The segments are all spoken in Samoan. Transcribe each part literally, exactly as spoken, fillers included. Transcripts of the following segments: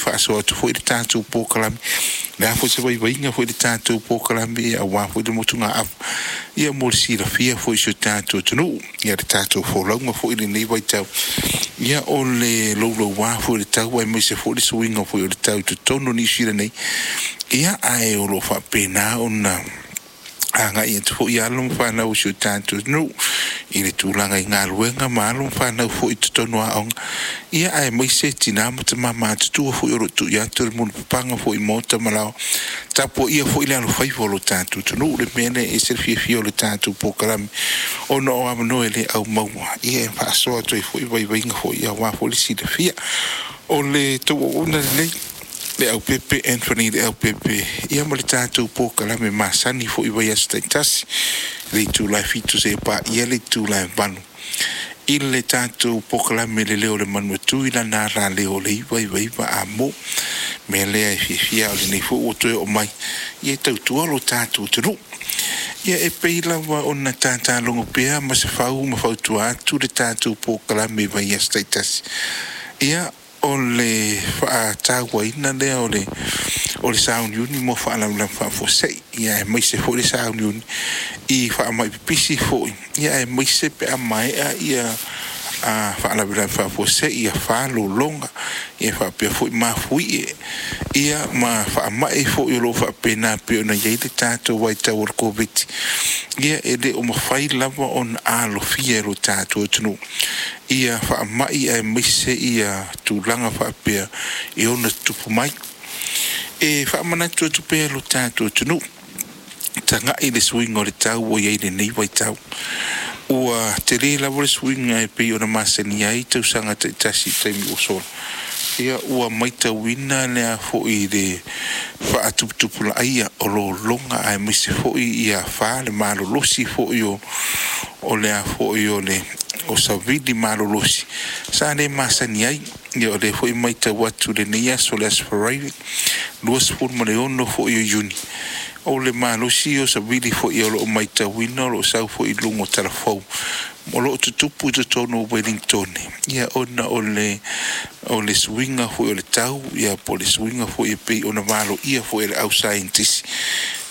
Faasoa atu foi le tatou polokalame le a foi se vaivaiga foi le tatou polokalame ia auā foi le motugaafa ia mo le silafia foi i si o tatou atunuu ia le tatou folauga foi lenei vaitau ia o le loulouā foi o le tau aemaise foi le suiga foi o le tau i totonu o Niu Sila nei ia ae o loo faapena ona agai atu foi alo ma fanau o si o tatou atunuu i le tulaga i galuega ma alo ma fanau foi i totonu o aoga ia aemaise tinā ma tamā matutua foi o loo tuu atu le mulipapaga foi i maota ma laoa tapuaia foi le alofaiva o lo tatou atunuu. Le mea lea e ese le fiafia o le tatou polokalame ona o avanoa e le au maua ia e faasoa atu ai foi vaivaiga foi aua foi le silafia o le tou auauna lelei le aupepe Anthony le aupepe ia ma le tatou polokalame masani foi vaiaso taitasi le itula e fitu seia paia le itula e valu i le tatou polokalame le leo o le Manu e tu i lana alaleo o le iva iva iva a mo. Mea lea e fiafia o lenei foi ua toe oo mai ia tautua lo tatou atunuu. Ia e pei lava ona tātā logo pea ma se fau ma fautua atu le tatou polokalame i vaiaso taitasi ia o le faatauaina lea o le o le sauniuni mo faalavelave faafuasei ia aemaise foi le sauniuni i faamai pipisi foi ia aemaise pe a maea ia a faalavelave faafuasei ia falologa ia faapea foi mafuie ia ma faamai foi o loo faapena pei ona iai le tatou vaitau o le Koviti ia e le o mafai lava ona alofia e lo tatou atunuu ia faamai aemaise ia tulaga faapea e ono tutupu mai. E faamanatu atu pea lo tatou atunuu, tagai i le suiga o le tau ua iai lenei vaitau. Ua tele lava le suiga e pei ona masani ai tausaga taitasi i taimi ua sola. Ia ua matauina lea foi le faatuputupulaia o lologa aemaise foi ia afa le malolosi foi o o le a foi o le o savili malolosi sa le masani ai. Ia o lea foi matau atu lenei aso le aso Faraile luasefulu ma le ono foi o Iuni o le malosi o savili foi o loo matauina o loo sau foi i luga o talafou o loo tutupu i totonu o Ueligitone ia ona o le o le suiga foi o le tau ia po o le suiga foi e pei ona valoia foi e le au saienitisi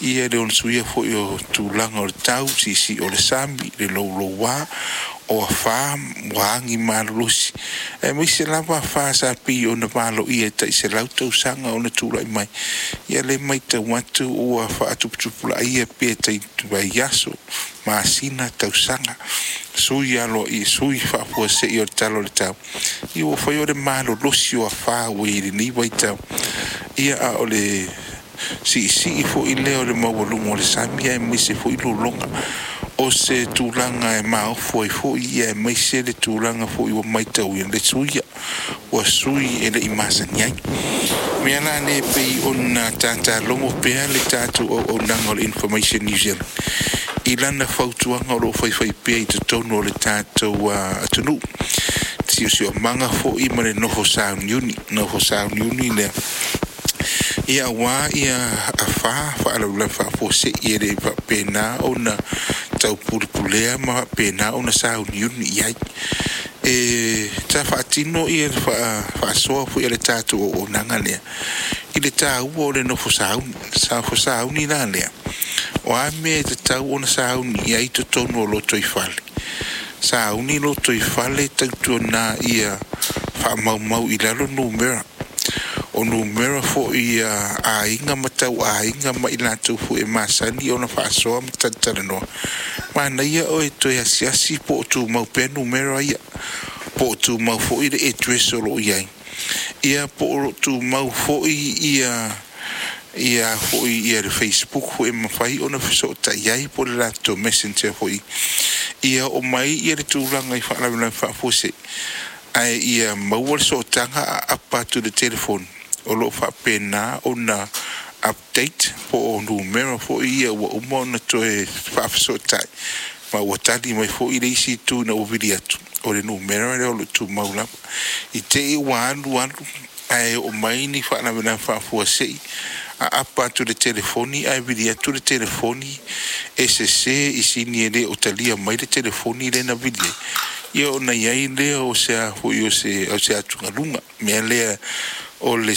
ia le ono suia foi o tulaga o le tau siisii o le sami le louloua o afā ua agi malolosi aemaise lava afa sa pei ona valoia e tai selau tausaga ona tulai mai ia le matau atu ua faatuputupulaia pe tai vaiaso masina tausaga sui aloaia sui faafuasei o le tala o le tau ia ua fai o le malolosi o afā ua i lenei vaitau ia a o le siisii foi lea o le maualuga o le sami aemaise foi lologa o se tulaga e maofu ai foi ia aemaise le tulaga foi ua matauina le suia ua sui e lei masani ai. Mea la lea pei ona tātālogo pea le tatou auaunaga o le Information New Zealand i lana fautuaga o loo faifai pea i totonu o le tatou atunuu siosiomaga foi ma le nofo sauniuni nofo sauniuni lea ia auā ia afā faalavelave faafuasei e le faapena ona taupulepulea ma faapena ona sauniuni i ai. E sa faatino ia le faasoa foi a le tatou auaunaga lea i le taua o le nofo sauni nofo sauni la lea o a mea e tatau ona sauni i ai totonu o lotoifale sauni lotoifale tautuana ia faamaumau i lalo numera o numera foi ia aiga ma tauaiga ma i latou foi e masani ona faasoa ma talatalanoa. Manaia oe toe asiasi po o tumau pea numera ia po o tumau foi le address o loo i ai ia po o loo tumau foi ia ia foi ia le Facebook foi e mafai ona fesootai ai po o le latou Messenger foi ia oo mai ia le tulaga i faalavelave faafuasei ae ia maua le sootaga aapa atu i le telefoni o loo faapena ona update po o numera foi ia ua uma ona toe faafesootai ma ua tali mai foi le isi itu ina ua vili atu o le numera lea o loo tumau lava i tei ua alu alu ae oo mai ni faalavelave faafuasei aapa atu le telefoni ae vili atu le telefoni e sese i sini e le o talia mai le telefoni lea na vili ai ia ona i ai lea o se a foi o se o se atugaluga mea lea o le